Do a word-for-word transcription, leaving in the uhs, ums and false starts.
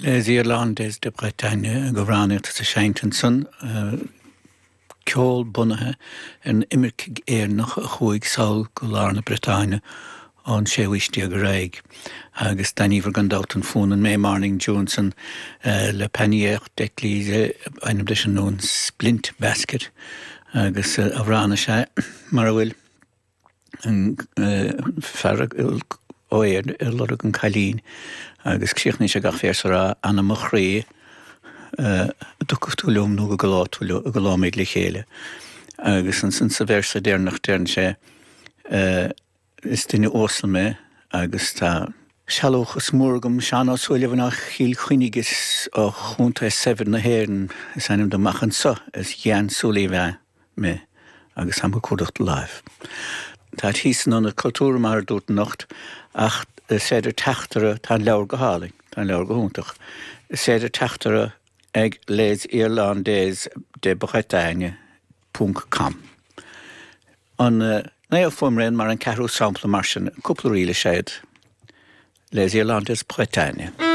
Les Irlandais de Bretagne amhránaíocht sa seinnt ansan ceol bunaithe ar na imircigh Éireannach a chuaigh sall go lár na Briotáine ón séú haois déag ar aghaidh. Agus d'aithníobhair gan dabht an fonn an May Morning Dew san Le Panier d'Écluse ainm leis an bhfonn Splint Basket agus amhrán is ea mar a bhfuil an fear ó Éirinn ag lorg an cailín agus críochnaíonn sé gach véarsa ag rá Anna mo chroí dtiocfaidh tú liom nó go gcodlóimid le chéile. Agus ansan sa véarsa deireanach deireann sé is duine uasal mé agus tá sealúchas mór agam Seán Ó Súilleabháin ó Chill Chainnigh is ó chontae saibhir na hÉireann is ainm dom ach anso is Jean Súilleabháin mé agus táim ag cuardach do láimh. Tá thíos san Ionad Cultúrtha mar a dúirt anocht ach is féidir teacht orthu tá an leabhar go hálainn, tá an leabhar go hiontach. Is féidir teacht orthu ag Les Irlandais de Bretagne ponc com. An naoú fuaimrian mar an ceathrú sampla mar sin, cúpla ríle is ea iad. Les Irlandais Bretagne.